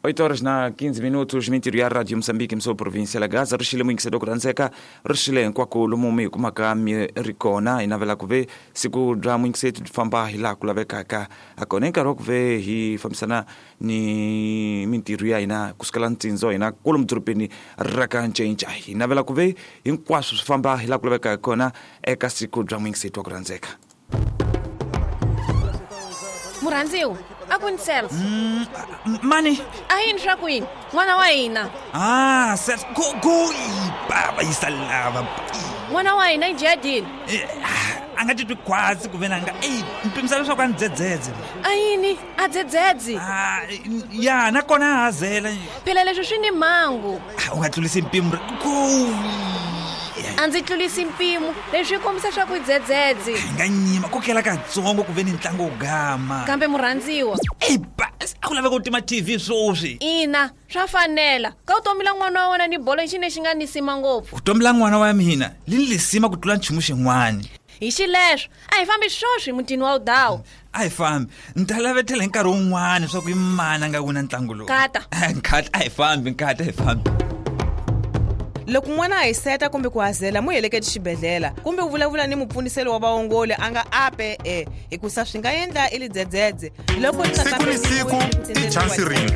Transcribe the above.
8 horas na 15 minutos, mintirho ya Radio Moçambique, mso província la Gaza, ri xile muyingiselo ku rhandzeka, ri xile hinkwako lomu mi hi kumaka mi ri kona. Hi navela ku ve siku bya muyingiseti byi famba hi laha ku lavekaka ha kona. Hi nkarhi wa ku ve hi fambisana ni mintirho ya hina kusukela ntsindzo hina kwalomu dorobeni ra ka Ncinca. Hi navela ku ve hinkwaswo swi famba hi laha ku lavekaka kona eka siku bya muyingiseti wa ku rhandzeka. Murhandziwa, a ku ni Celso. Mani? A yini swa ku yini n'wana wa hina? Ah, Celso, go go baba yisa lava. N'wana wa hina i jadini. Eh, ah, a nga titwi khwatsi ku ve na nga eyi mpimisa leswaku a ni dzedzedze. A yini a dzedzedzi? Ah, ya nakona a hazela. Phela leswi swi ni mhangu. Ah, u nga tlulisi mpimo go. A ndzi tlulisi mpimo, leswi swi kombisa swa ku dzedzedzi. Hi nga nyima ko kela katsongo ku ve ni ntlangu wo gama. Kambe murhandziwa. Eyi ba, a ku laveka u tima TV sweswi. Ina, swa fanela. Ka vutomi la n'wana wa wena ni bolo i xi lexi nga nisima ngopfu. Vutomi la n'wana wa mina li ni lisima ku tlula nchumu xin'wana. Hi xileswo, a hi fambi swoswi mutini wa Udawu. A hi fambi. Ni ta lavetela hi nkarhi wun'wana swa ku i mani a nga wina ntlangu lowu. Nkata. Nkata, a hi fambi, nkata, a hi fambi. Loko n'wana a hiseta kumbe ku hazela, mu heleketi xibedhlele kumbe u vulavula ni mupfuniseli wa vaongoli a nga ape e, hikusa swi nga endla i lidzedzedze loko ri nga Siku ni siku kamberiwi i chansi rintshwa.